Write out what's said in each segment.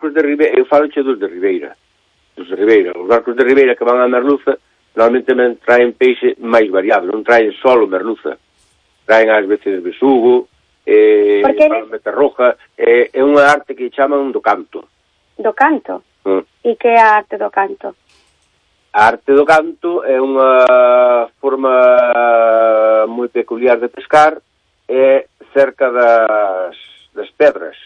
barcos de Ribeira, eu falo dos de Ribeira. Os barcos de Ribeira que van a merluza normalmente traen peixe máis variado, non traen solo merluza. Traen ás veces besugo, palometa roja, é unha arte que chaman do canto. Do canto? E que é a arte do canto? A arte do canto é unha forma moi peculiar de pescar, é cerca das pedras.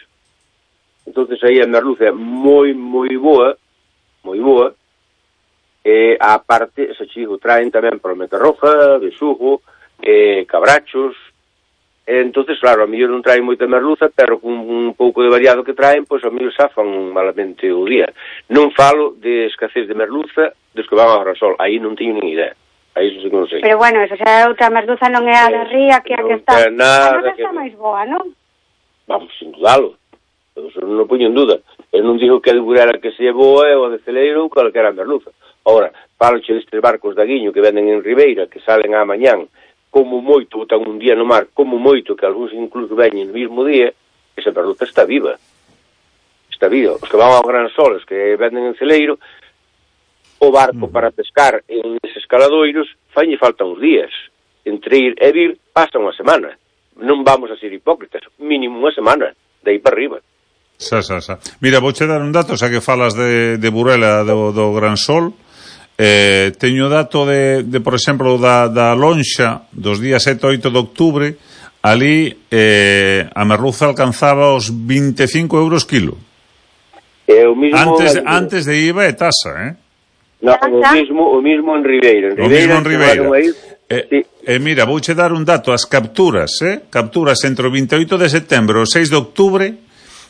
Entonces aí a merluza é moi boa, e a parte, se chigo, traen tamén palometa roja, besugo, cabrachos. Entonces, claro, a mellor non traen moita merluza, pero con un pouco de variado que traen, pois a mellor safan malamente o día. Non falo de escasez de merluza dos que van ao Grasol, aí non teño nin idea. Aí iso sí que non sei. Pero bueno, eso xa é outra merluza, non é a da ría que a que está. A que está máis boa, non? Vamos, sin dudalo. Eso non poño en duda. Eu non digo que a de Burela que se é boa é o de Celeiro ou calquera merluza. Ora, faloche destes barcos de Aguiño que venden en Ribeira, que salen á mañán, como moito, botan un día no mar, como moito, que algúns incluso veñen no mismo día, esa merluza está viva. Está viva. Os que van ao Gran Sol, os que venden en Celeiro, o barco para pescar en eses caladoiros, falle falta uns días. Entre ir e vir, pasa unha semana. Non vamos a ser hipócritas, mínimo unha semana, de aí para arriba. Mira, vouche dar un dato, xa que falas de Burela, do Gran Sol. Teño dato de por exemplo, da lonxa dos días 7 e 8 de outubro. Ali a merluza alcanzaba os 25 euros kilo. Antes de IVA e tasa, No, o mismo en Ribeira. Mira, vouche dar un dato. As capturas entre o 28 de setembro e o 6 de outubro,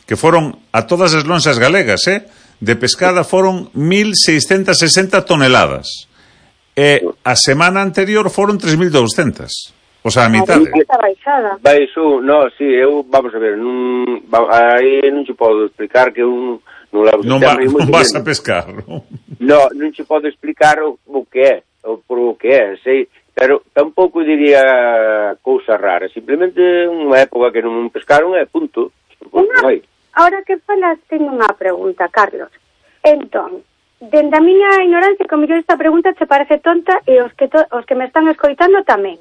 que foron a todas as lonxas galegas, de pescada, foron 1.660 toneladas. E a semana anterior foron 3.200. O sea, a mitade. Vamos a ver, aí non se podo explicar que non vas a pescar, non? Non se pode explicar o que é, por o que é, sei, pero tampouco diría cousa rara, simplemente unha época que non pescaron e punto. Ahora que falas, teño unha pregunta, Carlos. Entón, dende a miña ignorancia, que mellor esta pregunta che parece tonta e os que me están escoitando tamén.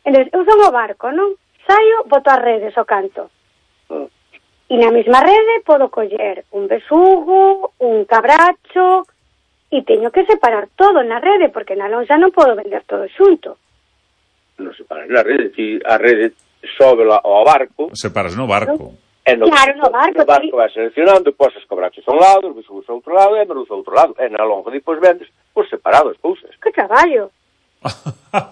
Entón, eu son o barco, non? Saio, boto as redes ao canto. E na mesma rede podo coller un besugo, un cabracho, e teño que separar todo na rede, porque na lonxa non podo vender todo xunto. Non separas na rede, si a rede sobe ao barco. Separas no barco. No barco vai seleccionando, pos os cabrachos a un lado, os besugos a outro lado e a merluza a outro lado. E na longa depois vendes por separado as cousas. Que traballo!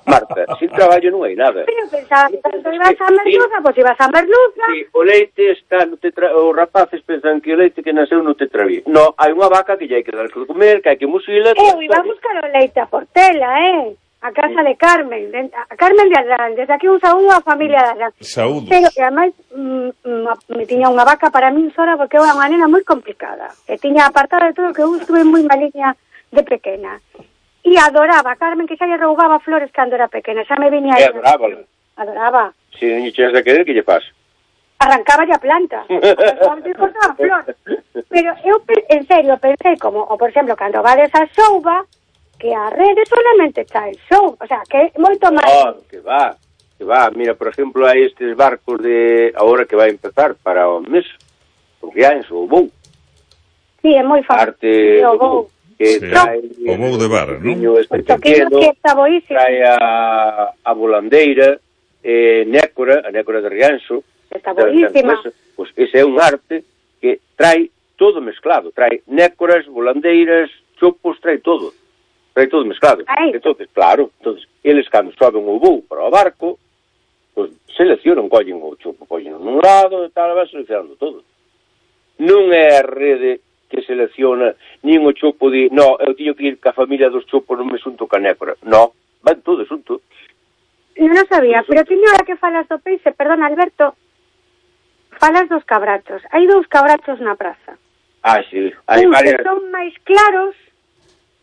Marta, sin traballo non hai nada. Pero pensaba que tanto ibas a merluza, pois ibas a merluza. Sí, o leite está no os rapaces pensan que o leite que nasceu no tetraví. No, hai unha vaca que lle hai que dar que comer, que hai que musila. Eu iba a buscar o leite a Portela, a casa de Carmen, a Carmen de Adán, desde aquí un saúdo á familia de Adán. Saúdos. Pero que ademais me tiña unha vaca para min sola porque era unha nena moi complicada. E tiña apartado de todo, que eu estuve moi maliña de pequena. E adoraba a Carmen, que xa lle roubaba flores cando era pequena, xa me viña aí. Adoraba. Si non lle chegas a querer, que lle pasa? Arrancáballe a planta. Cortaba flores. Pero eu, en serio, pensei como, por exemplo, cando vades a Xouba, que a rede solamente está el show, o sea, que é moito máis. Que va. Mira, por exemplo, hai estes barcos de agora que vai empezar para o mes, o Rianxo, o Bou. Sí, é moi fácil. Arte o Bou. O Bou de Barra, non? Trae a volandeira, Nécora, a Nécora de Rianxo. Está boísima. Pois ese é un arte que trae todo mezclado, trae nécoras, volandeiras, chopos, trae todo mezclado. Entonces, claro, eles cando soben o Bou para o barco, pues seleccionan, collen o chopo, collen nun lado, e tal, van seleccionando todo. Non é a rede que selecciona, nin o chopo de, no, eu teño que ir ca familia dos chopos, non me xunto ca nécora. No, van todo xunto. Non sabía, pero teño ahora que falas do peixe, perdón, Alberto, falas dos cabrachos. Hai 2 cabrachos na praza. Sí, hai varias. Que son máis claros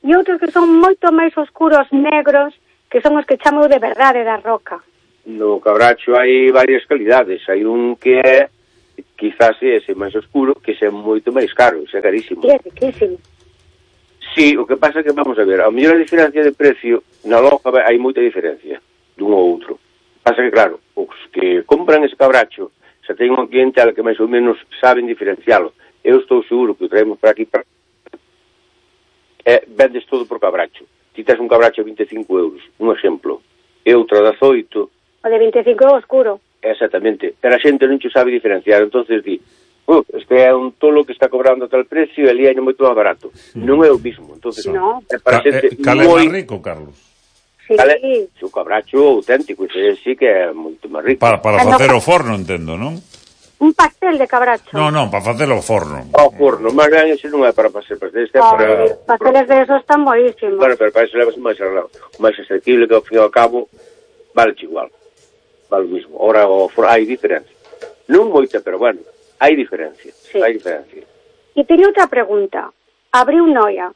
e outros que son moito máis oscuros, negros, que son os que chamo de verdade da roca. No cabracho hai varias calidades. Hai un que é quizás ese máis oscuro, que é moito máis caro, é carísimo. Sí, é riquísimo. Sí, o que pasa é que, vamos a ver, a mellor a diferencia de precio, na lonja hai moita diferencia dun ou outro. Pasa que, claro, os que compran ese cabracho, xa ten unha clientela que máis ou menos saben diferencialo. Eu estou seguro que o traemos para aquí, vendes todo por cabracho. Ti tes un cabracho a 25 euros, un exemplo, e outra de 18. O de 25 é oscuro. Exactamente, pero a xente non che sabe diferenciar, entonces di, este é un tolo que está cobrando a tal precio e ali hai moito máis barato. Non é o mismo, entonces no. É para xente cal é máis rico, Carlos? Sí. Cale, o cabracho auténtico, ese sí que é moito máis rico. Para facer o forno, entendo, non? Un pastel de cabracho. Non, para facer o forno. O forno, máis ben, ese non é para facer pastel, este é para... Pasteles de esos están boísimos. Bueno, pero para eso levas máis arreglado. O máis accesible, que ao fin e ao cabo vale igual. Vale o mismo. Ora, hai diferencia. Non moita, pero bueno, hai diferencia. Sí. Hai diferencia. E teño outra pregunta. Abriu Noia.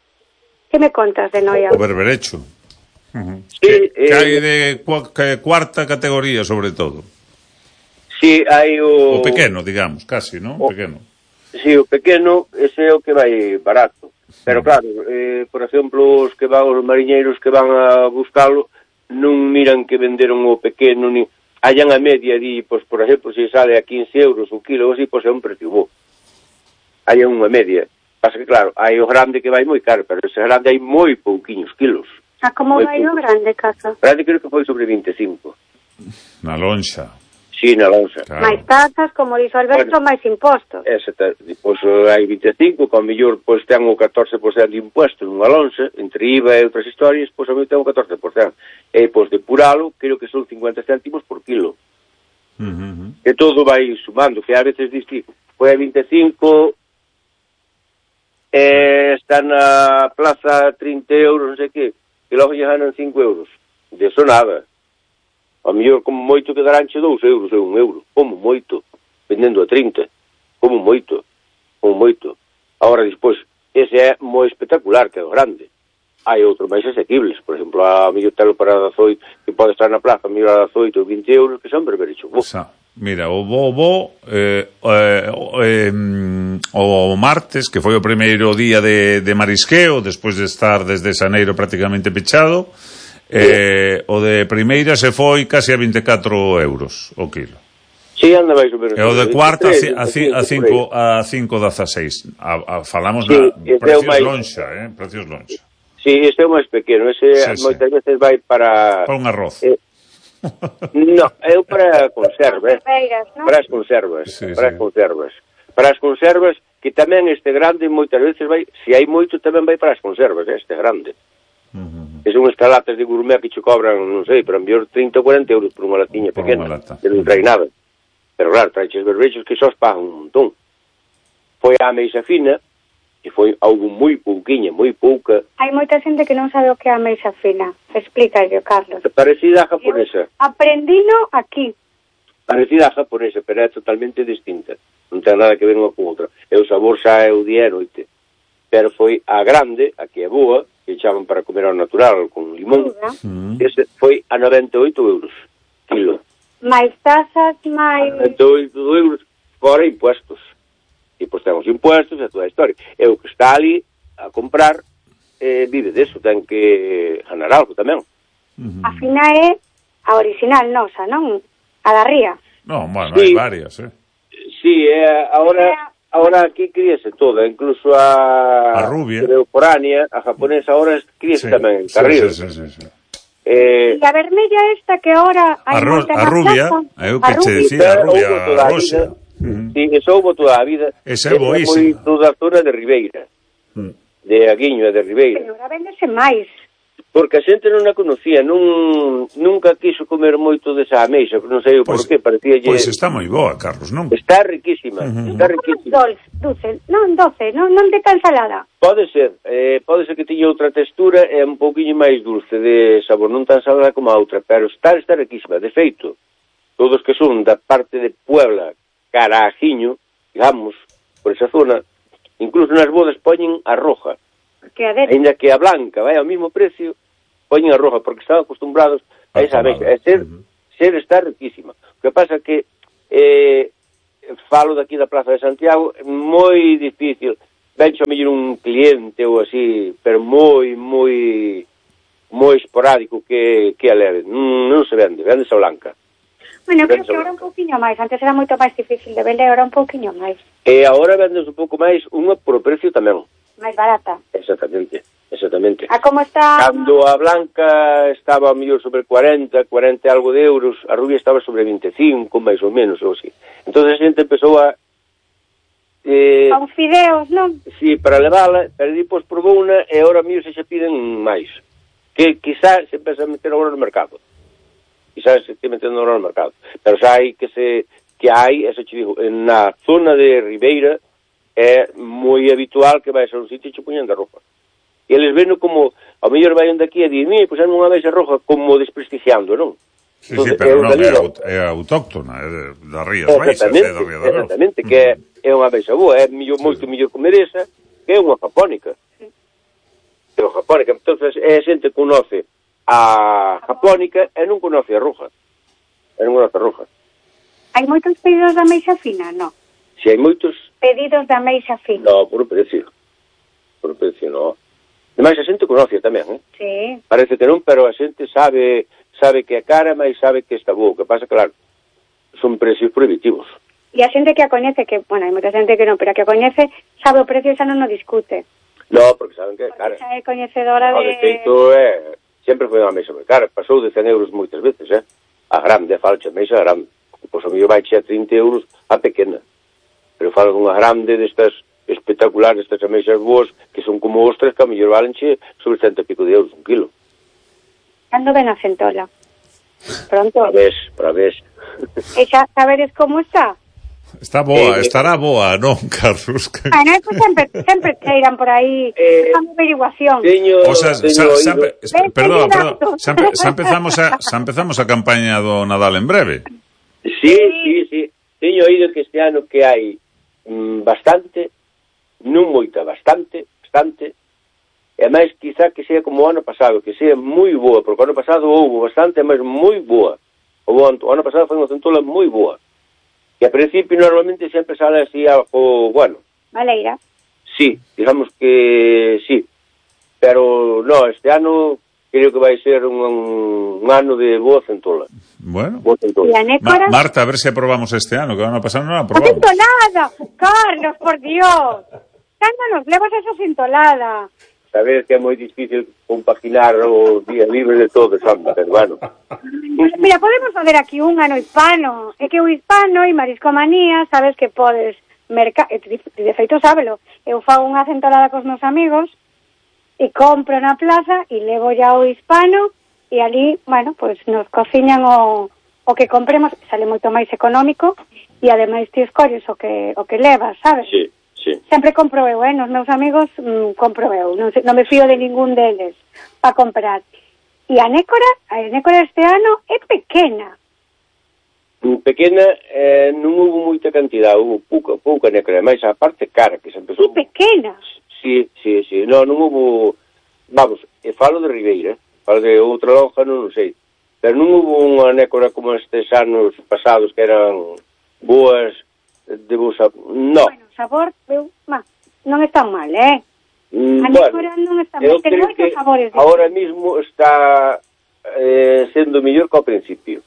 Que me contas de Noia? O berberecho. Sí, que hai de cuarta categoría, sobre todo. Sí, hai O pequeno, digamos, casi, non? Pequeno. Sí, o pequeno, ese é o que vai barato. Pero claro, por exemplo, os mariñeiros que van a buscalo non miran que venderon o pequeno, ni hallan a media, di, pois, por exemplo, se sale a 15 euros o kilo, así, pois é un precio bo. Hallan unha media. Pasa que, claro, hai o grande que vai moi caro, pero ese grande hai moi pouquiños kilos. A como vai o grande, casa? O grande creo que foi sobre 25. Na lonxa. Sí, na lonxa. Claro. Máis taxas, como dixo Alberto, máis impostos. Pois hai 25, que ao mellor pois ten o 14% de impuesto nunha lonxa, entre IVA e outras historias, pois ao mellor ten o 14%. E pois depuralo, creo que son 50 céntimos por kilo. Que todo vai sumando, que a veces dices, foi a 25, está na plaza 30 euros, non sei que, e logo lle ganan 5 euros. De eso nada. Ao mellor, como moito, quedaránche 2 euros ou 1 euro. Como moito. Vendendo a 30. Como moito. Agora, despois, ese é moi espectacular, que é o grande. Hai outros máis asequibles. Por exemplo, a mellor telo para 18, que pode estar na plaza, a mellor a 18 ou 20 euros, que son berberecho. Mira, o martes, que foi o primeiro día de marisqueo, despois de estar desde xaneiro prácticamente pechado, o de primeira se foi casi a 24 euros o kilo. Sí, anda máis ou menos. E o de cuarta a 5,16. Falamos na precios lonxa, precios lonxa. Sí, este é o máis pequeno, ese moitas veces vai para un arroz. No, eu para conservas, ¿no? Para as conservas, sí. Para as conservas, que tamén este grande moitas veces vai, se hai moito tamén vai para as conservas, este grande. Que son estas latas de gourmet que che cobran, non sei, pero enviar 30 ou 40 euros por unha latiña pequena, que non trae nada. Pero claro, traeches berberechos que só os pagan un montón. Foi a ameixa fina, e foi algo moi pouquiña, moi pouca. Hai moita xente que non sabe o que é a ameixa fina. Explícalle, Carlos. Parecida a japonesa. Aprendino aquí. Parecida a japonesa, pero é totalmente distinta. Non ten nada que ver unha con outra. E o sabor xa é o día e noite. Pero foi a grande, a que é boa, que echaban para comer ao natural con limón. Ese foi a 98 euros kilo. Mais tasas, máis... 98 euros fora impuestos. E pois temos impuestos e toda a historia. E o que está ali a comprar vive deso, ten que ganar algo tamén. A fina é a original nosa, non? A da ría. Non, bueno, hai varias, Sí, ahora aquí críese toda, incluso a rubia, foránea, a japonesa, ahora críese tamén en Carril. Sí. E a vermella esta que ahora a rubia, eu que che decía, a rubia rosa. Sí, eso houve toda a vida. Esa é boísima. Toda a zona de Ribeira, de Aguiño e de Ribeira. Pero ahora vendese máis. Porque a xente non a conocía, nunca quiso comer moito desa ameixa, non sei o porqué, parecía... Pois está moi boa, Carlos, non? Está riquísima, está riquísima. Doce, non de tan salada. Pode ser que tiña outra textura e un pouquinho máis dulce de sabor, non tan salada como a outra, pero está riquísima. De feito, todos que son da parte de Puebla, cara a Ajiño, digamos, por esa zona, incluso nas bodas poñen a roja. Ainda que a blanca vai ao mesmo precio, poñen a roja, porque están acostumbrados a esa ameixa. Ser está riquísima. O que pasa que falo daqui da Plaza de Santiago, moi difícil. Vencho a mellor un cliente ou así, pero moi esporádico que a leve. Non se vende a blanca. Bueno, creo que ahora un pouquiño máis. Antes era moito máis difícil de vender, ahora un pouquiño máis. E agora vendes un pouco máis, unha por precio tamén. Máis barata. Exactamente. A como está? Cando a blanca estaba a mellor sobre 40 e algo de euros, a rubia estaba sobre 25, máis ou menos, ou así. Entón a xente empezou a... a uns fideos, non? Sí, para levala, pero depois probou unha e agora mellor se piden máis. Que quizá se empeza a meter agora no mercado. Quizás se esté metendo agora no mercado. Pero xa hai eso te digo, na zona de Ribeira é moi habitual que vais a un sitio e che poñan de ropa. E eles ven como, ao mellor vai onde aquí e di, pois é unha beixa roja, como desprestigiando, non? Sí, entonces, pero non, é autóctona, é das Rías Baixas, é da Ría da Rosa. Exactamente, que é unha beixa boa, é moito mellor que mereza, que é unha japónica. É unha japónica, entón é xente que conoce a japónica e non conoce a roja. Hai moitos pedidos da meixa fina, non? Si hai moitos... Pedidos da meixa fina. No, por precio, non. Demais a xente conoce tamén, Sí. Parece que non, pero a xente sabe que é cara, mas sabe que está boa. O que pasa, claro, son precios prohibitivos. E a xente que a coñece, que, bueno, hai moita xente que non, pero a que a coñece, sabe o precio e xa non o discute. No, porque saben que é cara. Porque xa é coñecedora de... De feito, sempre foi unha mesa moi cara. Pasou de 100 euros moitas veces, A grande, falcha, a mesa grande. Pois a mellor vai che a 30 euros a pequena. Pero falo dunha grande destas espectaculares, estas ameixas boas, que son como ostras, que a mellor valenche sobre 100 e pico de euros un kilo. Cando ven a centola? Pronto. Para vez. E xa sabedes como está? Está boa, estará boa, non, Carlos? Bueno, eso sempre cheiran por aí a averiguación. O sea, perdón, xa empezamos a campaña do Nadal en breve. Sí. Teño oído que este ano que hai bastante, non moita, bastante, e máis quizá que sea como o ano pasado, que sea moi boa, porque o ano pasado houve bastante, mas moi boa. O ano pasado foi unha centola moi boa. E a principio normalmente sempre sale así algo, bueno. Valeira. Sí, digamos que sí. Pero no, este ano creo que vai ser un ano de boa centola. Bueno. Boa centola. Marta, a ver se aprobamos este ano, que o ano pasado non aprobamos. ¡A centolada! Carlos, por Dios. Cando nos levas esa centolada? Sabes que é moi difícil compaginar os días libres de todo, Sandra, pero bueno. Mira, podemos fazer aquí un ano hispano. É que o hispano e mariscomanía, sabes que podes de feito sábelo. Eu fago unha centolada cos meus amigos e compro na plaza e levo ya o hispano e ali, bueno, pues nos cociñan o que compremos, sale moito máis económico e ademais ti escolles o que levas, sabes? Sí. Sempre compro eu, nos meus amigos compro eu, non me fío de ningún deles para comprar. E a nécora este ano é pequena. Pequena, non hubo moita cantidad, hubo pouca nécora, máis a parte cara que se empezou. Sí, pequena. Sí, non hubo, vamos, falo de Ribeira, falo de outra lonja, non sei, pero non hubo unha nécora como estes anos pasados que eran boas, de bo sabor, no. Bueno, sabor, non está mal, A nécora non está mal, ten moitos sabores. Ahora mismo está sendo mellor que ao principio.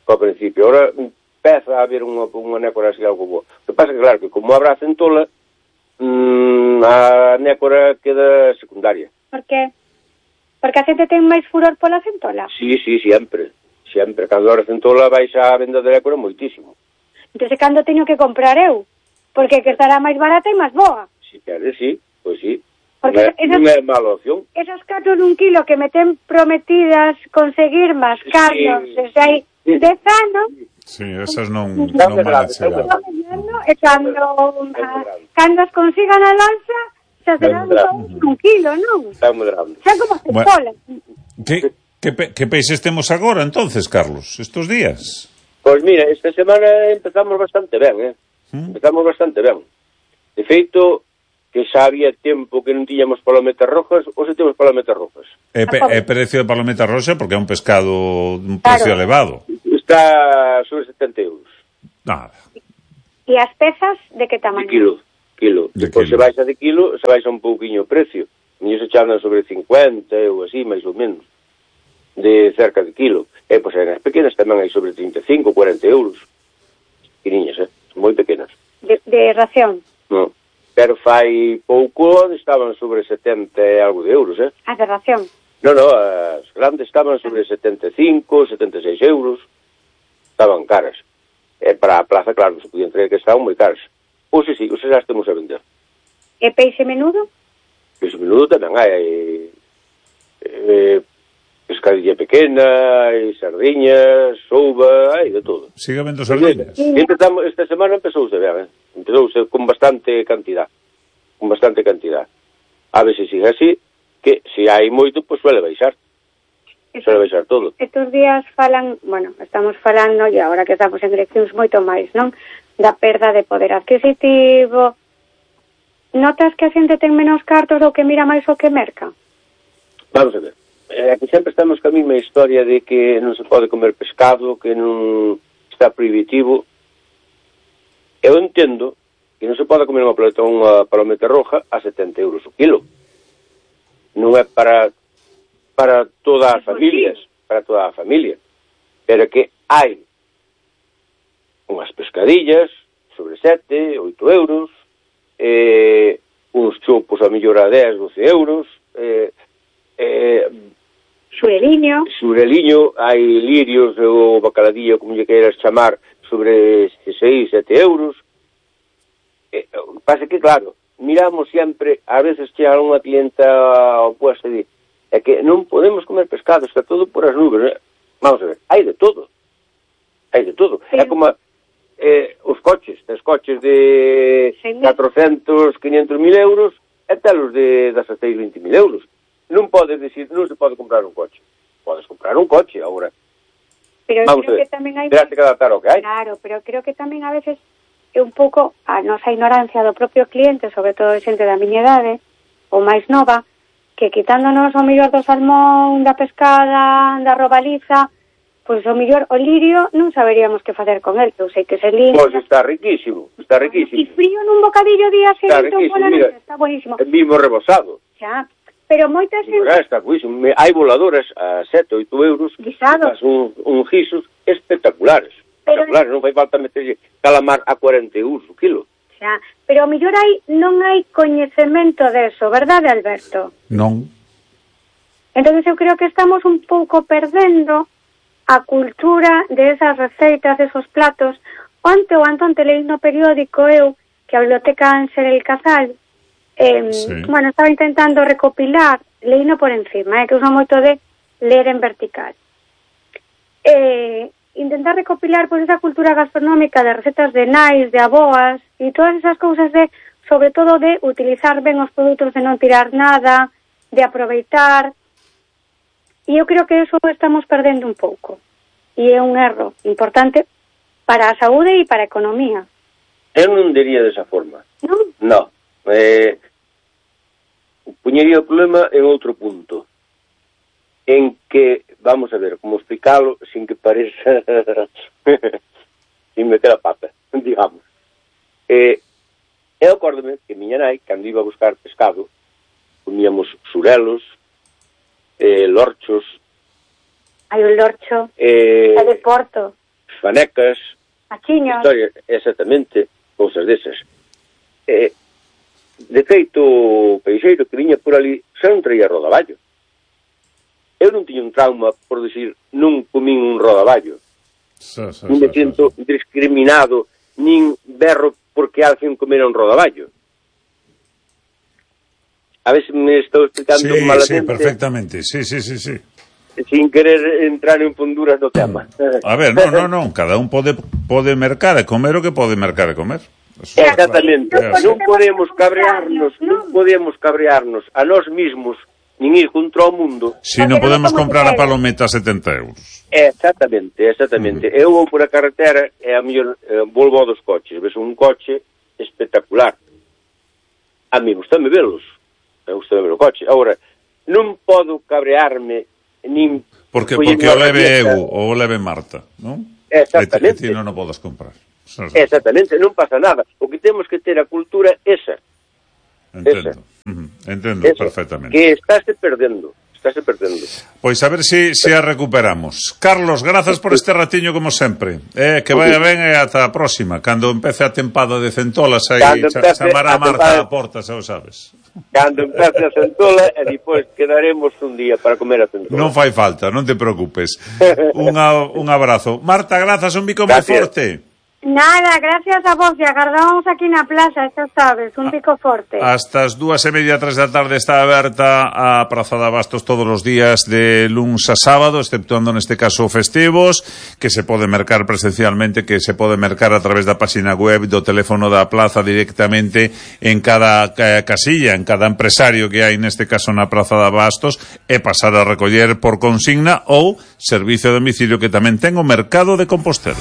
Ahora empeza a haber unha nécora así algo boa. O que pasa que, claro, que como habrá centola, a nécora queda secundaria. Por qué? Porque a xente ten máis furor pola centola? Sí, sempre. Cando habrá centola vais a venda de nécora moitísimo. Entón, cando teño que comprar eu? Porque que estará máis barata e máis boa. Si queres, sí, pois sí. Porque non é mala opción. Esas 4 nun kilo que me ten prometidas conseguir máis caros desde hai 10 anos. Sí, esas non van a chegar. E cando as consigan a lanza, xa serán un kilo, non? Está moderando. Xa como se cola. Que peixes temos agora, entonces, Carlos, estos días? Pois mira, esta semana empezamos bastante ben, De feito, que xa había tempo que non tiñamos palometas rojas, ou se temos palometas rojas. É precio de palometa roxa porque é un pescado un precio elevado. Está sobre 70 euros. Nada. E as pezas de que tamaño? De kilo. Depois se baixa de kilo, se baixa un pouquiño o precio. E se chandan sobre 50 ou así, máis ou menos, de cerca de kilo. E, pois, as pequenas tamén hai sobre 35, 40 euros. Pequeniñas, moi pequenas. De ración? Non. Pero fai pouco estaban sobre 70 e algo de euros, As de ración? Non, as grandes estaban sobre 75, 76 euros. Estaban caras. E para a plaza, claro, non se podían traer, que estaban moi caras. Ou se xa estamos a vender. E peixe menudo? Peixe menudo tamén hai pescadilla pequena, hai sardiñas, souba, hai de todo. Sigue vendo sardiñas? Esta semana empezouse ben, empezouse con bastante cantidad. A ver se sigue así, que se hai moito, pois suele baixar. Suele baixar todo. Estos días estamos falando, e agora que estamos en eleccións moito máis, non? Da perda de poder adquisitivo. Notas que a xente ten menos cartos ou que mira máis o que merca? Vamos a ver. Aquí sempre estamos ca mesma historia de que non se pode comer pescado, que non está prohibitivo. Eu entendo que non se pode comer unha palometa roja a 70 euros o kilo. Non é para todas as familias, pero que hai unhas pescadillas sobre 7, 8 euros, uns chopos a mellor a 10, 12 euros, xureliño, hai lirios ou bacaladillo, como lle queiras chamar, sobre 6, 7 euros. Pasa que, claro, miramos sempre, a veces que a unha clienta opuesta di, é que non podemos comer pescado, está todo por as nubes. Vamos a ver, hai de todo. É como os coches de 400, 500 mil euros e telos de 16, 20 mil euros. Non podes decir, non se pode comprar un coche. Podes comprar un coche, agora. Pero vamos creo a ver, que tamén hai... terás que adaptar ao que hai. Claro, pero creo que tamén a veces é un pouco a nosa ignorancia do propio cliente, sobre todo xente da miña idade, ou máis nova, que quitándonos o mellor do salmón, da pescada, da robaliza, pois o mellor o lirio non saberíamos que facer con el. Eu sei que se limpia. Pois está riquísimo. E frío nun bocadillo día seguinte ou pola noite, está buenísimo. É mismo rebosado. Xa, pero moita xente... Está buenísimo. Hai voladoras a 7, 8 euros. Guisados. Un guisos espectaculares. Espectaculares, non fai falta meterlle calamar a 40 euros o kilo. Xa, pero o mellor non hai coñecemento deso, verdade, Alberto? Non. Entonces eu creo que estamos un pouco perdendo a cultura de esas receitas, de esos platos. Onte leí no periódico eu que a Biblioteca Ángel el Casal estaba intentando recopilar, leíno por encima, que uso moito de ler en vertical. Intentar recopilar pois esa cultura gastronómica de recetas de nais, de aboas e todas esas cousas de, sobre todo, de utilizar ben os produtos, de non tirar nada, de aproveitar. E eu creo que eso estamos perdendo un pouco. E é un erro importante para a saúde e para a economía. Eu non diría desa forma. Non? Non. Puñería o problema en outro punto. En que, vamos a ver, como explicalo sin que pareza sin meter a pata, digamos. Eu acórdome que miña nai, cando iba a buscar pescado, comíamos surelos, lorchos. Hai un lorcho, é de Porto. Fanecas. Achiños. Exactamente, cousas desas. De feito, o peixeiro que viña por ali xa non traía rodaballo. Eu non tiño un trauma por decir non comín un rodaballo. Non me sinto discriminado, nin berro porque alguén comera un rodaballo. A ver se me estou explicando malamente. Sí, perfectamente, sí. Sin querer entrar en fonduras do tema. A ver, non, cada un pode mercar e comer o que pode mercar e comer. Exactamente, non podemos cabrearnos a nós mismos, nin ir contra o mundo. Si non podemos comprar a palometa a 70 euros. Exactamente. Eu vou por a carretera e a mellor volvo dos coches, ves un coche espectacular. A mí gustame velos. Me gusta ver o coche. Agora, non podo cabrearme nin... Porque o leve eu ou o leve Marta, non? Exactamente. E ti non o podes comprar. Exactamente, non pasa nada. O que temos que ter a cultura esa. Entendo. Entendo esa, perfectamente. Que estáse perdendo. Pois a ver se a recuperamos. Carlos, grazas por este ratiño como sempre. Que vaya ben e ata a próxima. Cando empece a tempada de centolas aí chamará a Marta a porta, xa o sabes. Cando empece a centola e depois quedaremos un día para comer a centola. Non fai falta, non te preocupes. Un abrazo. Marta, grazas, un bico moi forte. Nada, gracias a vos, e agardábamos aquí na plaza, xa sabes, un pico forte. Hasta as 2:30, 3 da tarde está aberta a Praza de Abastos todos os días de luns a sábado, exceptuando neste caso festivos, que se pode mercar presencialmente, que se pode mercar a través da página web, do teléfono da plaza directamente en cada casilla, en cada empresario que hai neste caso na Praza de Abastos, e pasar a recoller por consigna ou servicio de domicilio que tamén ten o Mercado de Compostela.